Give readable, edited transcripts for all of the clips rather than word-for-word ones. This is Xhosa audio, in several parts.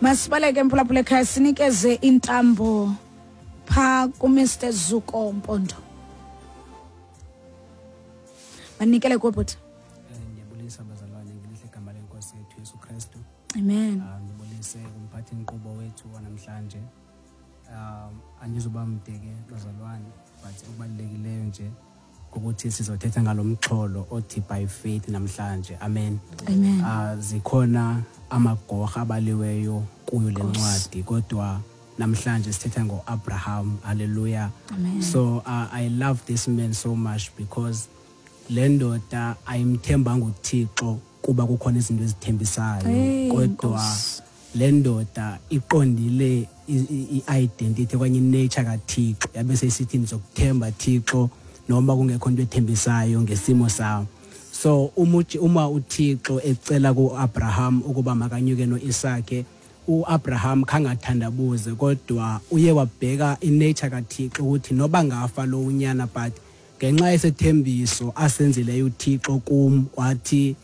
Masibaleke mphulaphula ekhaya, sinikeze intambo phaa kuMr Zuko Mpondo. Manikele kuwe bhuti. Ndiyabulisa bazalwane ngelihle igama lenkosi yethu Yesu Kristu. Amen. Ndibulise kumphathi nkqubo wethu wanamhlanje. Andizuba mde ke bazalwane, but okubalulekileyo nje ukuthi sizothetha ngalo mxholo othi by faith namhlanje. Amen. Amen. Zikhona amagorha abaliweyo kuyo le ncwadi, kodwa namhlanje sithetha ngo-Abraham. Hallelujah. Amen. So I love this man so much because le ndoda ayimthembanga uThixo kuba kukhona izinto ezithembisayo, Hey, kodwa Nkosi. le ndoda iqondile i-identity okanye i-nature kaThixo, yabe seyisithi ndizokuthemba Thixo noma kungekho into ethembisayo ngesimo sam. So uma uThixo ecela ku-Abraham ukuba makanyuke no-Isake, uAbraham khangathandabuze, kodwa uye wabheka i-nature kaThixo ukuthi noba ngafa lo unyana, but ngenxa yesethembiso asenzileyo uThixo kum, wathi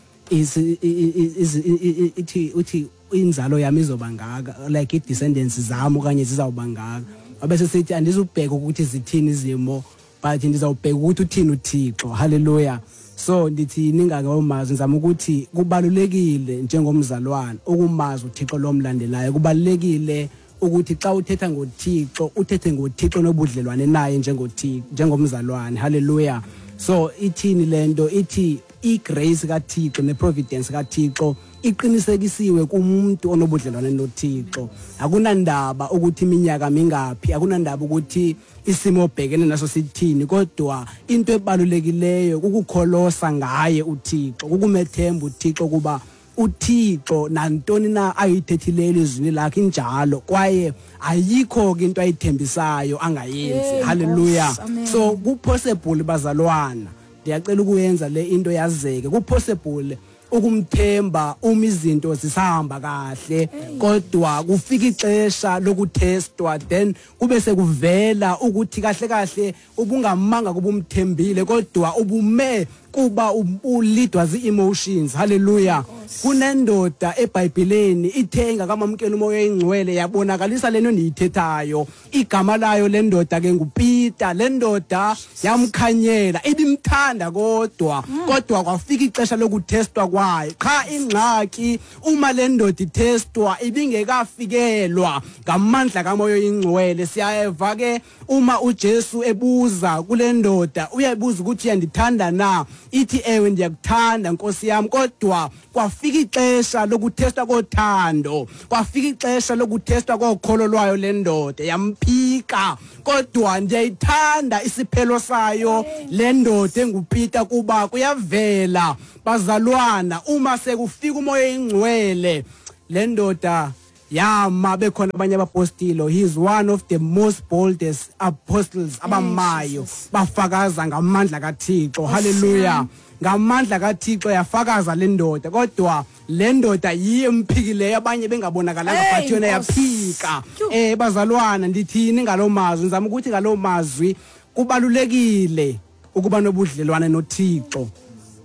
ithi uthi inzalo yami izoba ngaka, like i-descendants zam okanye zizawuba ngaka. Wabe sesithi andizubheka ukuthi zithini izimo, but ndizawubheka ukuthi uthini uThixo. Hallelujah. So ndithi ningakawumazi, ngizama ukuthi kubalulekile njengomzalwane ukumazi uThixo lomlandelayo. Kubalulekile ukuthi xa uthetha ngoThixo uthethe ngoThixo nobudlelwane naye njengoThixo, njengomzalwane. Hallelujah. So ithini lento? Ithi igrace kaThixo neprovidence kaThixo iqinisekisiwe kumuntu onobudlelwane noThixo. Akunandaba ukuthi iminyaka mingaphi, akunandaba ukuthi isimo obhekene naso sithini, kodwa into ebalulekileyo kukukholosa ngaye uThixo, kukumethemba uThixo, kuba uThixo nantoni na ayithethileyo elizwini lakhe injalo, kwaye ayikho ke into ayithembisayo angayenzi. Hey, Hallelujah. Nkosi, amen. So kupossible bazalwana, ndiyacela ukuyenza le into yazeke, kupossible ukumthemba uma izinto zisahamba kahle, kodwa kufika ixesha lokutestwa, then kube sekuvela ukuthi kahle kahle ubungamanga kuba umthembile, kodwa ubume kuba ulidwa zii-emotions. Hallelujah. Kunendoda eBhayibheleni ithe ingakamamkela umoya oyingcwele yabonakalisa lento ndiyithethayo. Igama layo le ndoda ke nguPeter. Le ndoda yamkhanyela, ibimthanda kodwa, kodwa kwafika ixesha lokutestwa kwayo. Qha ingxaki uma le ndoda itestwa ibingekafikelwa ngamandla kamoya oyingcwele. Siyeva ke uma uJesu ebuza kule ndoda, uyayibuza ukuthi uyandithanda na, ithi ewe ndiyakuthanda Nkosi yami, kodwa kwafika ixesha lokutestwa kothando, kwafika ixesha lokutestwa kokholo lwayo le ndoda, yamphika. Kodwa ndiyayithanda isiphelo sayo le ndoda enguPeter, kuba kuyavela bazalwana uma sekufika umoya oyingcwele le ndoda yama bekhona abanye abapostile. He is one of the most boldest apostles abamayo, Jesus. bafakaza ngamandla kaThixo. Hallelujah. Ngamandla kaThixo yafakaza le ndoda, kodwa le ndoda yiyo emphikileyo, abanye bengabonakalanga, Hey, but yona Nkosi. yaphika. Tyhu. Bazalwana, ndithini ngaloo mazwi? Ndizama ukuthi ngaloo mazwi kubalulekile ukuba nobudlelwane noThixo,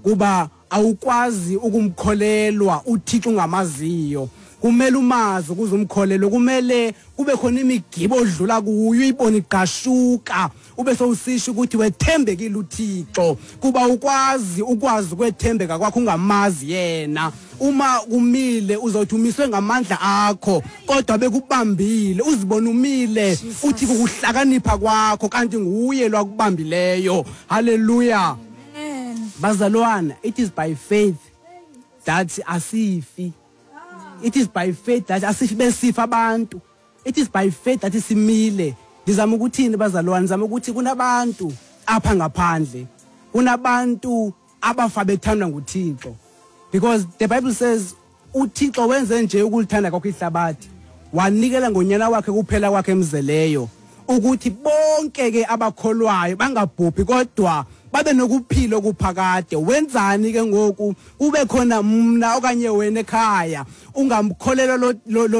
kuba awukwazi ukumkholelwa uThixo ungamaziyo. Kumele umazi ukuze umkholelwe, kumele kube khona imigibo odlula kuyo uyibone igqashuka, ube sowusisho ukuthi wethembekile uThixo, kuba ukwazi ukwazi ukwethembeka kwakho ungamazi yena. Uma kumile uzothi umiswe ngamandla akho, kodwa bekubambile uzibona umile uthi kukuhlakanipha kwakho, kanti nguye lwakubambileyo. Hallelujah. Amen. Bazalwana, it is by faith that asifi. It is by faith that asifi besifa abantu. It is by faith that simile. Ndizama ukuthini bazalwane? Ndizama ukuthi kunabantu apha ngaphandle, kunabantu abafa bethandwa nguThixo, because the Bible says uThixo wenze nje ukulithanda kwakhe ihlabathi, wanikela ngonyana wakhe kuphela kwakhe emzeleyo, ukuthi bonke ke abakholwayo bangabhubhi kodwa babe nokuphila okuphakade. Wenzani ke ngoku kube khona mna okanye wena ekhaya ungamkholelwa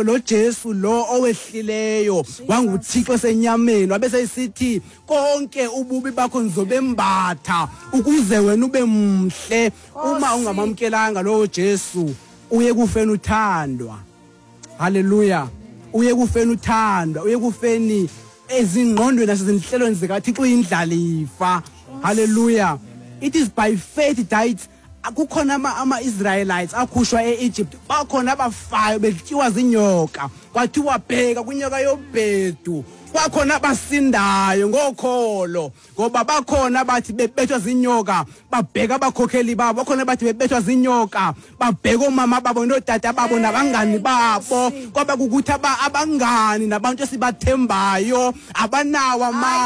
lo Jesu lo owehlileyo wanguThixo senyameni, wabe seyisithi konke ububi bakho ngizobembatha ukuze wena ube mhle. Uma ungamamkelanga lo Jesu uye kufeni uthandwa. Haleluya. Uye kufeni uthandwa, uye kufeni ezingqondweni nasezinhlelweni zikaThixo uyindlalifa. Haleluya. It is by faith that kukhona ama-Israelites akhushwa e-Egypt, bakhona abafayo betyiwa zinyoka, kwathiwa bheka kwinyoka yobhedu, kwakhona abasindayo ngokholo, ngoba bakhona bathi bebethwa zinyoka babheka abakhokheli babo, bakhona bathi bebethwa zinyoka babheka omama babo nootata babo nabangani babo, kwaba kukuthi abangani nabantu esibathembayo abanawo amandla.